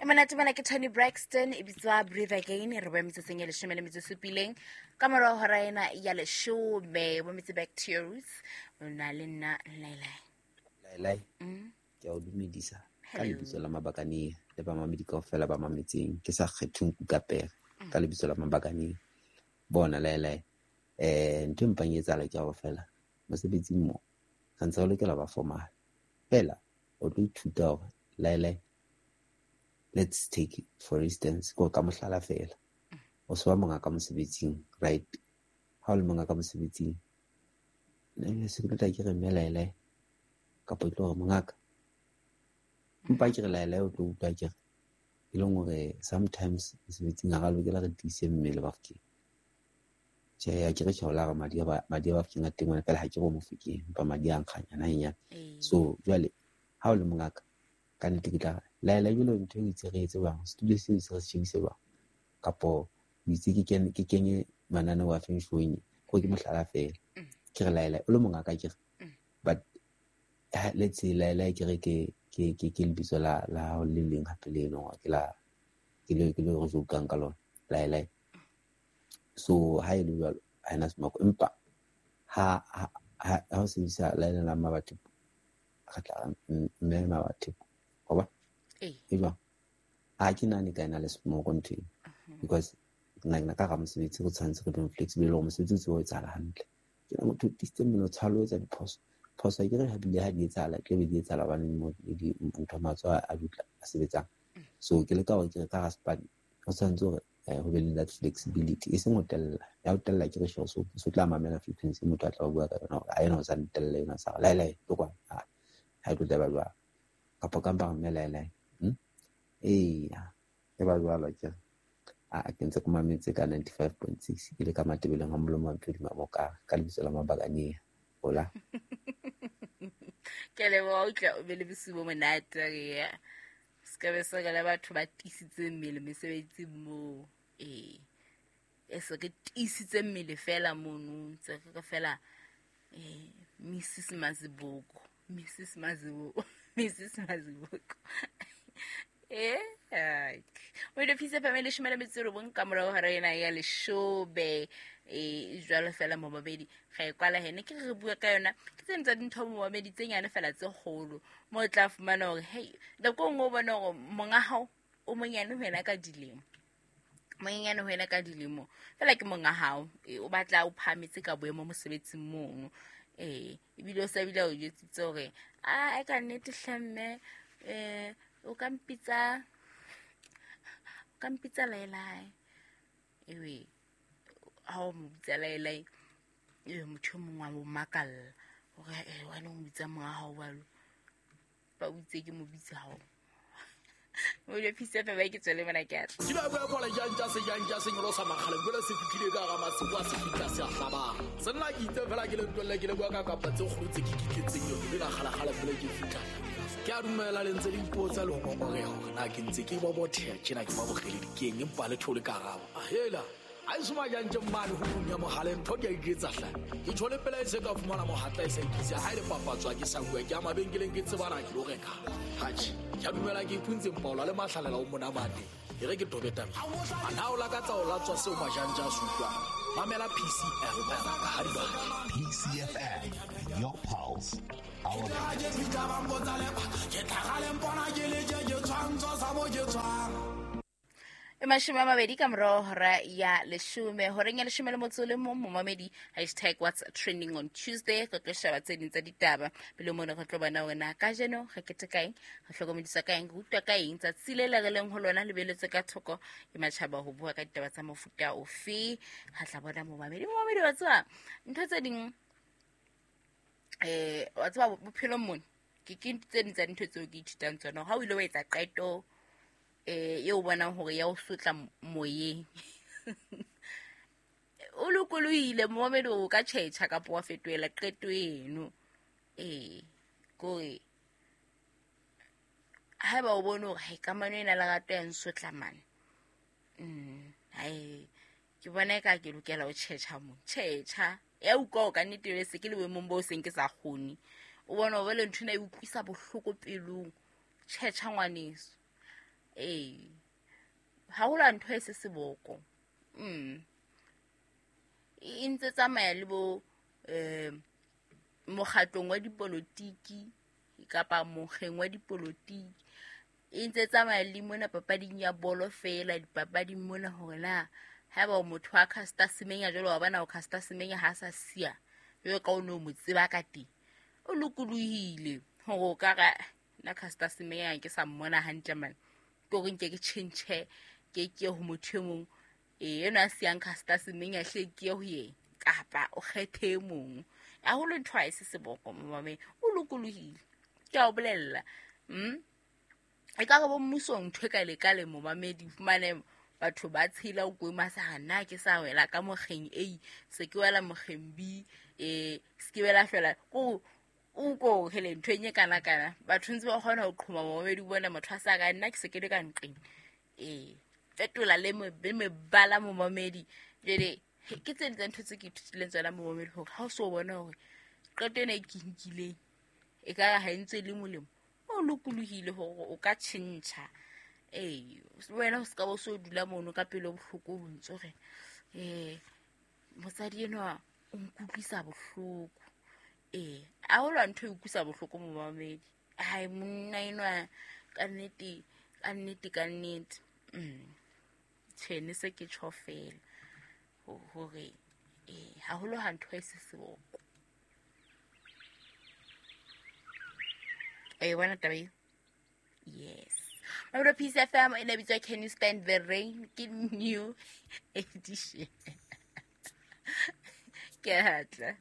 E monate mona ke Tony Braxton, e bitswa Breathe Again. Re boe metsotsong e 17 ka morago hora ena ya 10. Bo metse back to your roots, o na le nna Lailai. Lailai, ke a o dumedisa ka lebitso la Mabakane le bamamedi kaofela ba mametseng, ke sa kgetheng ka pere ka lebitso la Mabakane. Bona Lailai, ntho e mpang e etsahala ke hore fela mosebetsing mo re ntse re lokela ba formal, fela o tlo ithuta hore Lailai, let's take for instance, ko ka mohlala fela, o se wa monga ka mosebetsing, right? Ha o le monga ka mosebetsing, ne se ke tla ke re mme Lailai, kapa e tlo hore mongaka, empa ke re Lailai, o tlo utlwa ke re e leng hore sometimes mosebetsing ha ra lokela re tiise mmele Bafokeng. Tjhe, ha ke re tjhe, la re madi a Bafokeng a teng wena, fela ha ke re o Mofokeng, empa madi a nkganyana hanyane. So jwale ha o le mongaka, ka nnete ke tla re Laila, jwale ntho e itse re etse jwang, studio seo se re se shebise jwang, kapo o itse ke kenye mananeo a feng showing, ko ke mohlala fela. Ke re Laila, o le mongaka ke re, but let's say Laila ke re ke lebitso la hao le leng hape le leng hore ke la ke le ke le re jokang ka lona Laila. So ha e le jwalo ha ena semako, empa ha o sebedisa Laila la Mmabatho, re tla mme Mmabatho, wa bona? E jwang? Ha ke nahane ka ena le semoko ntho eno, because nna ka hara mosebetsi re tshwanetse re be flexible hore mosebetsi o tsebe ho etsahala hantle. Ke na motho o tiisitse mmele, o tshwalo etsa diphoso. Phoso ke re ha bile ha di etsahala, ke be di etsahala hobane ntho matsoho a dutla a sebetsang. So ke leka hore ke re ka hara sepane ho tshwanetse hore ho be le that flexibility, e seng ho tella. Ya ho tella ke re sure, so tla mamela frequency motho a tla bua ka yona hore a ena o sa ntella ena sa re Lailai tlo kwana, ha e tlo tla ba jwalo. Kapa ka mpa mme Lailai, eya e ba jwalo ke re. A ke ntse ke mametse ka 95.6 ke le ka Matebeleng ha molomo wa Mpedi Mabokare ka lebitso la Mabakane. Hola. Ke leboha o tla o be le bosiu bo monate re ya. Se ka be se re le batho ba tiisitse mmele mesebetsing moo. E se re tiisitse mmele fela mono, ntse re fela Mrs Mazibuko, Mrs Mazibuko, Mrs Mazibuko. O ile phisa family 19 ka morao hora ena ya 10. Jwalo fela momamedi ga e kwala hene ke re bua ka yona, ke tse ntse dintho momamedi tse nyane fela tse kgolo mo tla fumana hore hey, nako nngwe o bona hore monga hao o monyane ho wena ka dilemo, monyenyane ho wena ka dilemo fela ke monga hao, o batla o phahametse ka boemo mosebetsing mono. Ebile o sa bile o jwetsitse hore a ka nnete hle mme, o ka mpitsa Lailai. Ewe ha o mo bitsa Lailai, motho e mongwe wa mo makalla hore wena o mo bitsa monga hao jwalo, ba o itse ke mo bitsa hao. O ile phisa fa ba ke tswele mona ke atla. Ke ba bua kola jang tsa se jang tsa senyolo sa makgale, jwale se fitlhile ka hara masibu a se fihla se a hlabang. Se nna ke itse fela ke le ntwelle ke le bua ka kapa tse kgolo tse ke kitletseng yone, le la kgalakgala pele ke fihla. Ke a dumela le ntse le ipotsa le ho ngongoreha hore na ke ntse ke bobotheha tjena ke ba bogeledi keng, empa le thole karabo. A hela, ha e soma jang tje mane ho punya mohale, ntho ke a iketsa hle. Ke tjho le pela e se ka fumana mohatla e sa ikise, ha e le papatswa ke sa bua, ke a mabenkeleng ke tsebana ke lo reka. Atjhe, ke a dumela ke ipuntse mpaola le mahlalela o monamate. E re ke tobe tabeng. A na o lakatsa o latswa seo majanja a se utlwang? Mamela PCFM ha di batla. PCFM, your pulse, our Ke tlhaga mpona ke le ke tshwantsho sa mo ke tshwang. 20 ka morao hora ya 10, horeng ya 11 momamedi, hashtag what's trending on Tuesday. Re tlo sheba tse ding tsa ditaba pele mona, re tlo bona hore na kajeno re keteka eng, re hlokomedisa ka eng, re utlwa ka eng tsatsi le le re leng ho lona le beletswe ka thoko ke matjhaba ho bua ka ditaba tsa mofuta ofe. Re tla bona momamedi, momamedi wa tseba ntho tse ding, wa tseba bophelong mona ke tse ding tsa dintho tseo ke ithutang tsona. Ha o ile wa etsa qeto eo bonang hore ya o sotla moyeng, o lokolohile momamedi o ka tjhetjha kapa wa fetohela qeto eno. Kore haeba o bone hore hai kamano ena lerato ya nsotla mane, hai ke bona eka ke lokela ho tjhetjha mo, tjhetjha ya utlwa hore ka nnete le se ke le boemong bo seng ke sa kgone, o bona hore le ntho ena e utlwisa bohloko pelong, tjhetjha ngwaneso. Ee, haholo ha ntho e se seboko. E ntse tsamaya le bo mokgatlong wa dipolotiki kapa mokgeng wa dipolotiki. E ntse tsamaya le mona papading ya bolo fela, dipapading mona hore na haeba o motho wa Caster Semenya jwalo, wa bona o Caster Semenya ha sa siya jwalo ka o ne o mo tseba ka teng, o lokolohile hore o ka ra nna Caster Semenya ke sa mmona hantle mane, ke hore nke ke tjhentjhe ke ke ho motho e mong, enwa a siyang Caster Semenya hle ke ye ho yena, kapa o kgethe e mong. Haholo ntho ha e se seboko momamedi, o lokolohile, ke a o bolella. E ka re bo mmusong ntho e ka le ka le momamedi, fumane batho ba tshela o kwema sa nna ke sa wela ka mokgeng A, se ke wela mokgeng B, se ke wela fela ko o ko hele ntho e nye kana kana. Batho ntse ba kgona ho qhoma momamedi, bona motho a sa ka nna ke se ke le ka nqeng. Fetola le mebala momamedi. Jwale ke tse ding tsa ntho tse ke ithutileng tsona momamedi, hore ha o so bona hore qeto ena e ke nkileng e ka ha e ntse e le molemo, o lokolohile hore o ka tjhentjha. Wena o ska bo so dula mono ka pelo bohloko o ntso re mosadi enwa o nkutlwisa bohloko. A ho lwa ntho e utlwisa bohloko momamedi. Ai, monna enwa ka nnete, ka nnete, ka nnete. Tjhe, ne se ke tjho fela hore haholo ha ntho e se seboko. E bona taba eo? Yes. Mamelodi Peace FM e ne bitswa Can You Stand the Rain, ke new edition. Ke a tla.